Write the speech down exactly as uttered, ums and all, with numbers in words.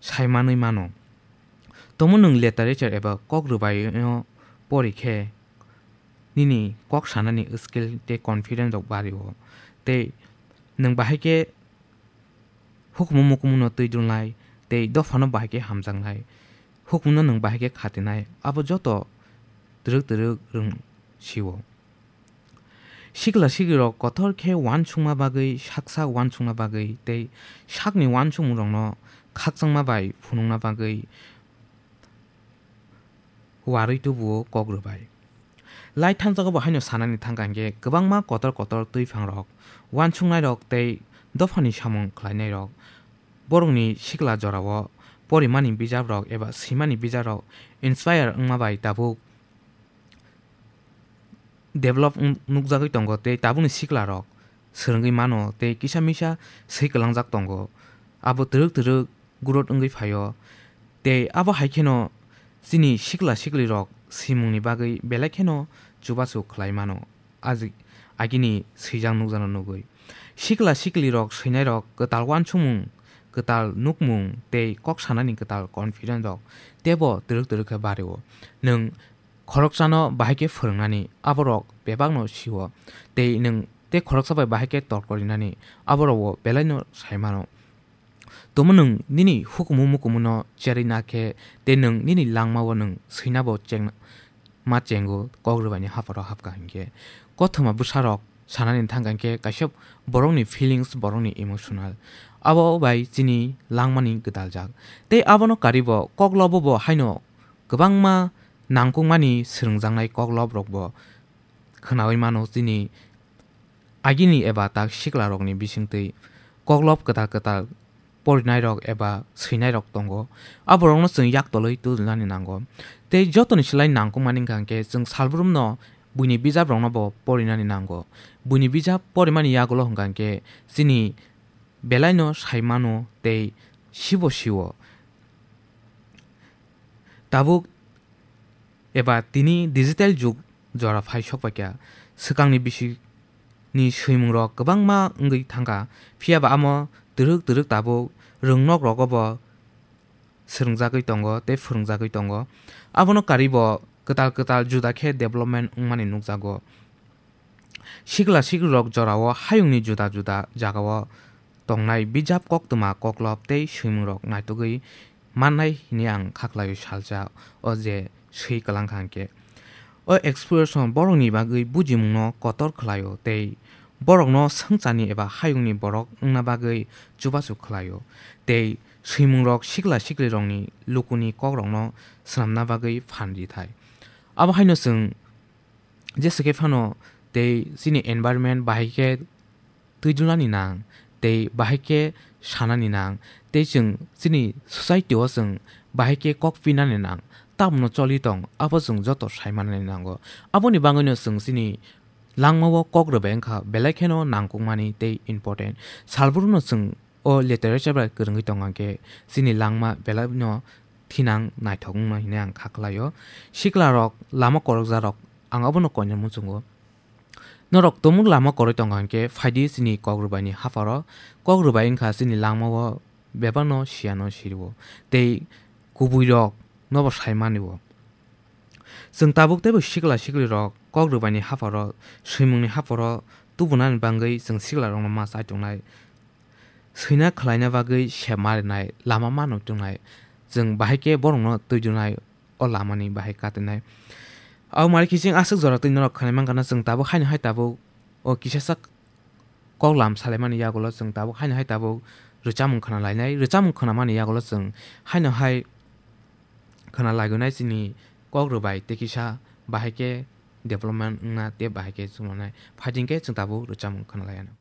sai manwi mano. Tomo nwng literature eba kok rwbaino pori khe nini kok sanani skill tei confidence rok bario. Tei nwng bahai khe hukumu mukumuno twi dulnai tei dophano bahai khe hamjaknai. Hukumno nwng bahai khe khatinai. Abo joto twrwk twrwk rwng sio. Sikla siklirok kotor khe uansukma bagwi, sak sak uansukma bagwi tei sakni uansukmungrokno khakchangma bai phunukna bagwi uarwi tubuo kok rwbai. Lai thansa bo haino sanani thangkha hinkhe kwbangma kotor kotor twiphangrok, uansuknairok tei dophani samung khlainairok borokni sikla jorao porimani bijaprok eba swimani bijaprok inspire wngma bai tabuk develop wng-, nukjagwi tongo tei tabukni siklarok swrwngwi mano tei kisa misa swi kwlangjak tongo. Abo twrwk twrwk growth wngwi phaio. Tei abo hai kheno chini sikla siklirok swimungni bagwi belai kheno chubachu khlai mano, aji-, agini swijak nukjakno nugwi. Sikla siklirok swinairok kwtal uansukmung, kwtal nukmung tei kok sanani kwtal confidence rok teibo twrwk twrwk khe bario. Nwng khoroksano bahai khe phwrwngnani, aborok bebakno sio, tei nwng tei khoroksa bai bahai khe torkor rinani, aborokbo belaino sai mano. Tomo nwng nini hukumu mukumuno cherwi na khe, tei nwng nini langmao nwng swinabo cheng-, ma chengo, kok rwbaini hapharo hapkha hinkhe. Kothoma bwsarok sanani thangkha hinkhe kaisa borokni feelings, borokni emotional. Abo bai chini langmani gwdaljak. Tei abono karibo koklobo bo haino kwbangma nangkukmani swrwngjaknai koklobrokbo khwnaui mano chini agini eba tak siklarokni bisingtwi koklob kwtal kwtal porinairok eba swinairok tongo. Aborokno chwng yaktolwi tubunani nango. Tei jotoni slai nangkukmani wngkha hinkhe chwng salbrumno buini bijaprokno bo porinani nango. Buini bijap porimani yagulo hwnkha hinkhe chini belaino sai mano tei sibo sio. Tabuk eba tini digital jug jora phai sok paikha. Swkangni bisini swimungrok kwbangma wngwi thangkha, phiya ba amo twrwk twrwk tabuk rwngnok rogo bo swrwngjagwi tongo tei phwrwngjagwi tongo. Abono karibo kwtal kwtal juda khe development wngmani nukjago. Sikla siklirok jorao hayungni juda juda jagao tongnai bijap koktwma koklob tei swimungrok naitugwi mannai hwnwi ang khaklaio salsa o je swi kwlangkha hinkhe. O exploration borokni bagwi bujimungno kotor khlaio tei borokno swngcharni eba hayungni borok wngna bagwi chubachu khlaio tei swimungrok sikla siklirokni lukuni kokrokno swnamna bagwi phan rithai. Abo haino chwng jesa khe phano tei chini environment bahai khe twijlani nang, tei bahai khe sanani nang, tei chwng chini society o chwng bahai khe kok pinani nang, tamno choli tong, abo chwng joto sai manani nango. Aboni bagwino chwng chini langmao kok rwbai wngkha, belai kheno nangkukmani tei important. Salbruno chwng o literature bai kwrwngwi tong khe chini langma belaino thinang naithok wngnai hwnwi ang kha khlaio. Siklarok lama korokjarok ang abono koinai muchungo. Norok tumung lama koroi tong khe phaidi chini kok rwbaini hapharo. Kok rwbai wngkha chini langmao bebakno siyano sirwo tei kubuirok nobo sai manio. Chwng tabuk teibo sikla siklirok kok rwbaini hapharo, swimungni hapharo tubunani bagwi chwng siklarokno ma chai tongnai. Swina khlaina bagwi sep ma rinai, lama ma nuk tongnai. Chwng bahai khe borokno twi dunai, o lamani bahai katinai. Abo mari kiching aswk jora twi norok khanai mankha na chwng tabuk haino hai tabuk o kisa sak kok lam salaimani yagulo chwng tabuk haino hai tabuk rwchapmung khna lainai. Rwchapmung khna mani yagulo chwng haino hai khna lagunai chini kok rwbai tei kisa bahai khe development wngna tei bahai khe chwnglanai. Phaidi khe chwng tabuk rwchapmung khna laianw.